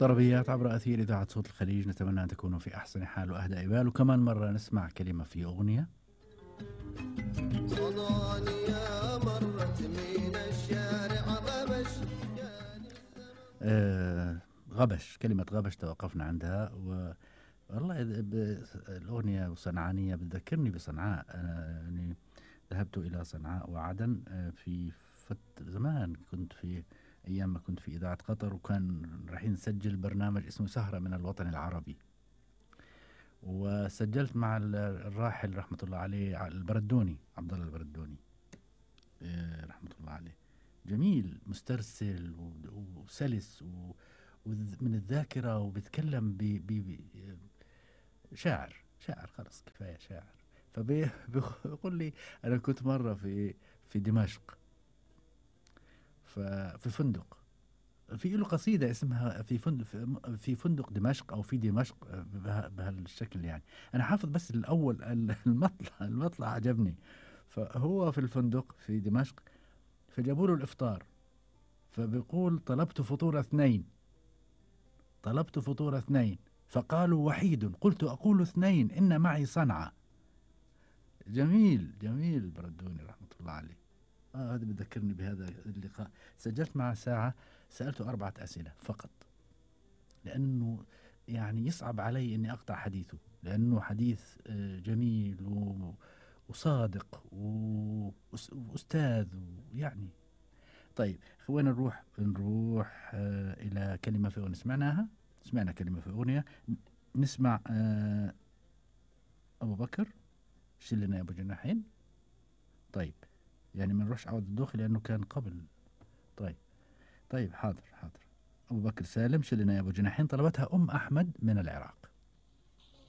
طربيات عبر أثير إذاعة صوت الخليج، نتمنى أن تكونوا في أحسن حال وأهدى بال. وكمان مرة نسمع كلمة في أغنية. صدانية مرت من الشارع غبش. غبش، كلمة غبش توقفنا عندها. والله الأغنية صنعانية بتذكرني بصنعاء. يعني ذهبت إلى صنعاء وعدن في زمان، كنت في أيام ما كنت في إذاعة قطر، وكان رايحين نسجل برنامج اسمه سهرة من الوطن العربي، وسجلت مع الراحل رحمة الله عليه البردوني، عبد الله البردوني رحمة الله عليه. جميل، مسترسل وسلس ومن الذاكرة، وبيتكلم شاعر خلاص كفاية شاعر. فبيقول لي أنا كنت مرة في دمشق، في فندق، في له قصيدة اسمها في فندق دمشق أو في دمشق بهالشكل. يعني أنا حافظ بس الأول المطلع عجبني. فهو في الفندق في دمشق، فجابوا له الإفطار، فبيقول طلبت فطور اثنين فقالوا وحيد، قلت أقول اثنين إن معي صنعة. جميل بردوني رحمة الله عليه. هذا بذكرني بهذا اللقاء. سجلت معه ساعة، سألته 4 أسئلة فقط، لأنه يعني يصعب علي أني أقطع حديثه، لأنه حديث جميل وصادق وأستاذ ويعني. طيب وين نروح إلى كلمة في أغنية سمعنا كلمة في أغنية. نسمع أبو بكر شلنا يا أبو جناحين. طيب يعني ما نروحش عوض الدوخي لأنه كان قبل. طيب حاضر. أبو بكر سالم شلنا يا أبو جناحين، طلبتها أم أحمد من العراق.